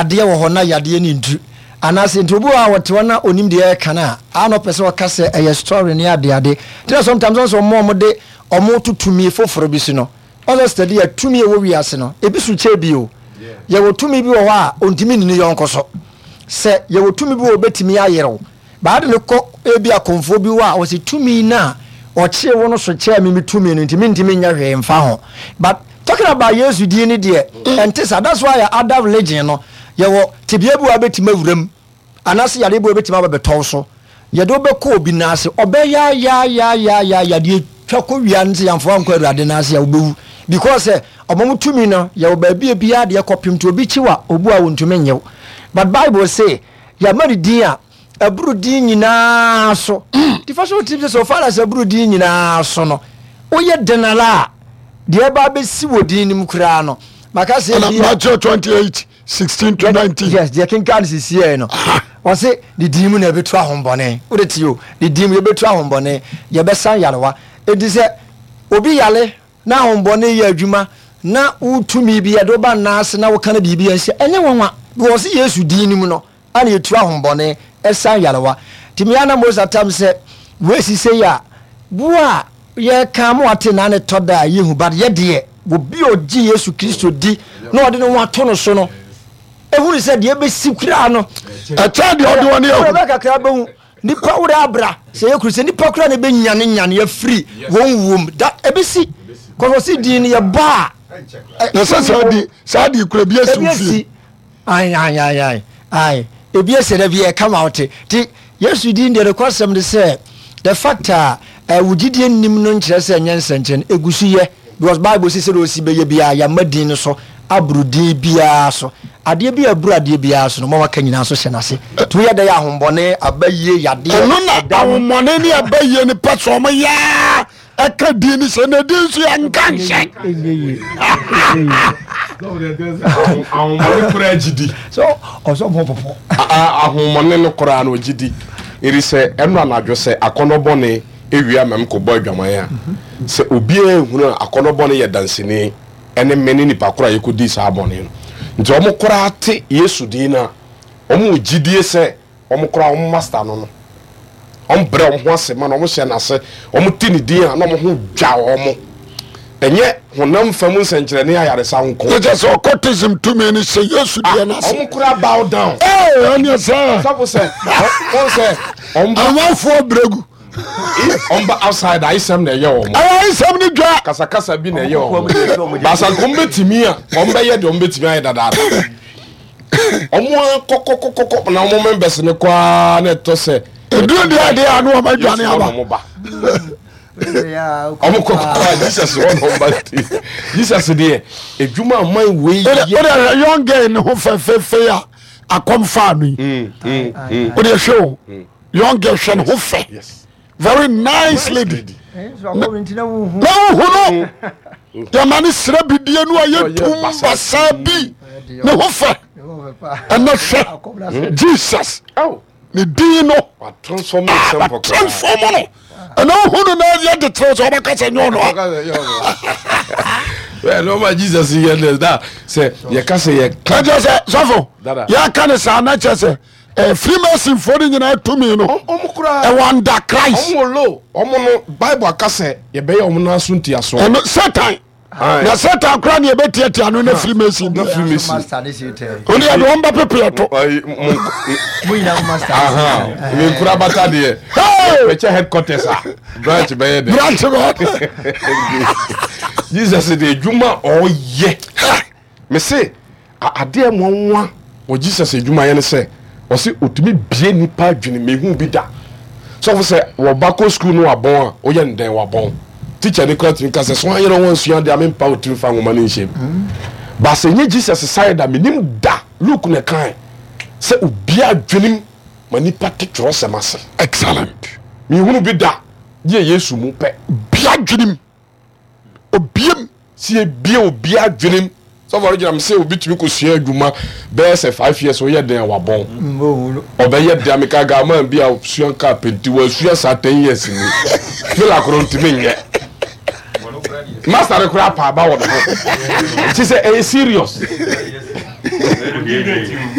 Yadeɛ wɔ hɔ na yadeɛ no ntu. Anaasɛ nti obi wɔ hɔ a ɔte hɔ na onim deɛ ɛreka no a, a na ɔpɛ sɛ ɔka sɛ ɛyɛ story ne adeade. Nti na sometimes ɔn sɛ ɔmo a ɔmo de ɔmo to tumi foforɔ bi so no, ɔn sɛ steady a tumi a ɛwɔ wiase no, ebi so kyɛ bi o. Yɛwɔ tumi bi wɔ hɔ a ontumi nni ne yɔnko so. Sɛ yɛwɔ tumi bi wɔ hɔ a obetumi ayerew. But ade no kɔ ebi akɔmfoɔ bi hɔ a ɔse tumi no a ɔkyee wo no so kyɛɛ me me tumi no nti mentumi nyɛ hwee mfa ho. But talking about Yesu din no deɛ ɛnte saa. That's why other religion no yɛwɔ tebea bi wɔ a wobɛtumi awura mu anaasɛ yareɛ bi wɔ a wobɛtumi aba bɛtɔ wo so. Yɛde wo bɛkɔ obi nan ase ɔbɛyaayaayaayaaya deɛ twa kɔ wia no sɛ yɛamfa wo ankɔ Awurade nan ase a wobɛwu because sɛ ɔma mo tumi no yɛwɔ baabi a biara deɛ kɔpem nti obi kyi wo a obu a wɔntumi nnye wo. But Bible se Yɛama no din a ɛboro din nyinaa so. Nti fa hyɛ wo tirim sɛ so far as ɛboro din nyinaa so no, woyɛ den ara a, deɛ ɛba abɛsi wɔ din no mu koraa no, maka sɛ Ɛna ebia Matthew 28 16 to 19. Yes, deɛ kenkan no sisiɛ no, ɔse ne din mu na yɛbɛtu ahombɔne. Wode te o, ne din mu yɛbɛtu ahombɔne, yɛbɛsan yarewa. Enti sɛ obi yare na ahombɔne yɛ adwuma na wo tumi bi yɛde wo ba nna ase na woka no biribi a nhyɛ ɛnyɛ nwanwa because ɔse Yesu din no mu no ana yɛtu ahombɔne ɛsan yarewa nti mea na Mose atam sɛ wei si sei a wo a yɛka mo ate na ne tɔ da a yɛhu but yɛdeɛ obi a ɔgye Yesu Kristo di na ɔde ne ho ato no so no ehunu sɛ deɛ ɛbɛsi koraa no ɛkyɛn deɛ ɔde wɔn ahu ɛbɛ kakra bɛhu Nipa wura abra sɛ yɛ kuru sɛ nipa kura na ebe nyane nyane afiri wɔn wuom da ebesi kɔsɔ si din no yɛ bɔ a. Na sɛ saa di saa di kura ebi esi ofie. Ayi ayi ayi ayi ayi ebi esi dɛ bi yɛ kama ɔte ti Yesu din deɛ rekɔ asɛm de sɛ the fact a ɛwɔ gyidie nim no nkyerɛ sɛ ɛnyɛ nsɛnkyerɛnne egu so yɛ. Because Bible se sɛdeɛ ɔsi bɛyɛ biara yɛama din no so aboro din biara so. Adeɛ bi a ɛboro adeɛ biara so no, ma waka nyinaa nso hyɛ n'ase. Nti woyɛ dɛ yɛ ahombɔne, abayie, yadeɛ, Ɛno na ɛdam. ahommɔne ne abayie no pɛ sɛ ɔmo yɛa ɛka din no hyɛ na din nso yɛnka nhyɛ. Ɛnyɛ yie. Ɛnyɛ yie. Ahommɔne koraa gye di. So ɔsɛ ɔmo popo. Ahommɔne no koraa no ɔgye di. Ɛfiri sɛ ɛno anadwo sɛ akɔnnɔ bɔne ewia ma mekɔbɔ adwaman a, sɛ obiara nhunu a, akɔnnɔ bɔne yɛ danseni ne me ne nipa koro a yɛkɔdii saa bɔne no. Nti wɔn koraa te Yesu din no a, wɔn wɔ gyidie sɛ wɔn koraa wɔn master no no. Wɔn brɛ wɔn ho ase ma no, wɔn hyɛ n'ase, wɔn te ne din a na wɔn ho dwa wɔn. Ɛnyɛ honam fam nsɛnkyerɛnne ayaresa nko. Ne kyɛ sɛ occultism tumi no hyɛ Yesu deɛ no ase. Wɔn koraa bow down. Ee, ɛneɛ sɛ. Sɔfo sɛ, wɔn sɛ, wɔn ba. Amanfoɔ brɛgu. Wɔn ba outside ayesɛm na ɛyɛ wɔn. Ɛyɛ ayesɛm ne dwa. Kasakasa bi na ɛyɛ wɔn. Baasa nka wɔn bɛtumi a, wɔn bɛyɛ deɛ wɔn bɛtumi ayɛ dadaada. Wɔn akɔkɔkɔkɔ na wɔn members no kɔ ara na ɛtɔ sɛ. Eduru deɛ adeɛ a na wɔn adwane aba. Wɔn kɔ kɔ a Jesus wɔ na wɔn ba Jesus deɛ edwuma aman wei yɛ. O de hwɛ young girl ne ho fɛfɛɛfɛ a akɔm faa no yi. O de hwɛ o young girl hwɛ ne ho fɛ very nice lady. Na wohu no yɛma ne srɛ bidie no a yɛ tum basaa bi ne ho fɛ ɛnɛ hwɛ Jesus. Ne din no watransform no ɛna wohu no na yɛ de kyerɛ sɛ wobɛka sɛ nyɛ ɔno a nɔma Jesus yɛ ne da sɛ yɛka sɛ yɛka kyerɛ sɛ sɔfo yɛka ne saa na kyerɛ sɛ eh, freemasonfoɔ no nyinaa tumi no ɛwɔ under Christ. Ɔmo lo ɔmo no Bible aka sɛ yɛbɛyɛ ɔmo nan so ntiasoɔ. Ɛno Satan na Satan koraa ne yɛbɛtiatia no na freemason na freemason ɔne yɛde wɔn bɛpepe ɛto. Menkura bata deɛ pɛkyɛ headquarters a branch bɛyɛ dɛ branch bɛyɛ Jesus de adwuma ɔyɛ mese Adeɛ nwanwa wɔ Jesus adwumayɛ ne sɛ ɔse ɔtumi bie nipa adwene mehu bi da. Sɔfo sɛ wɔba kɔ sukuu no wabɔn a woyɛ no dɛn wabɔn. Teacher ni koraa tumi ka sɛ so anyere ho ansua adeɛ a mempa wo tiri mfa nwoma no nhyɛ mu. But sɛ ɛnyɛ Jesus side a menim da Luke na ɛkae sɛ obie adwenem ma nipa te twerɛsɛm ase. Excellent. Mehunu bi da gye Yesu mu pɛ. Bie adwenem. Obiem. Sɛ yɛbie obi adwenem sɔfo no gyina m sɛ obi tumi kɔsua adwuma bɛyɛ sɛ 5 years woyɛ den a wabɔn ɔbɛyɛ den meka gaman bi a sua kaa penti wasua saa 10 years ni fila koro ntumi nyɛ master no koraa paaba wɔ ne ho nti sɛ ɛyɛ serious.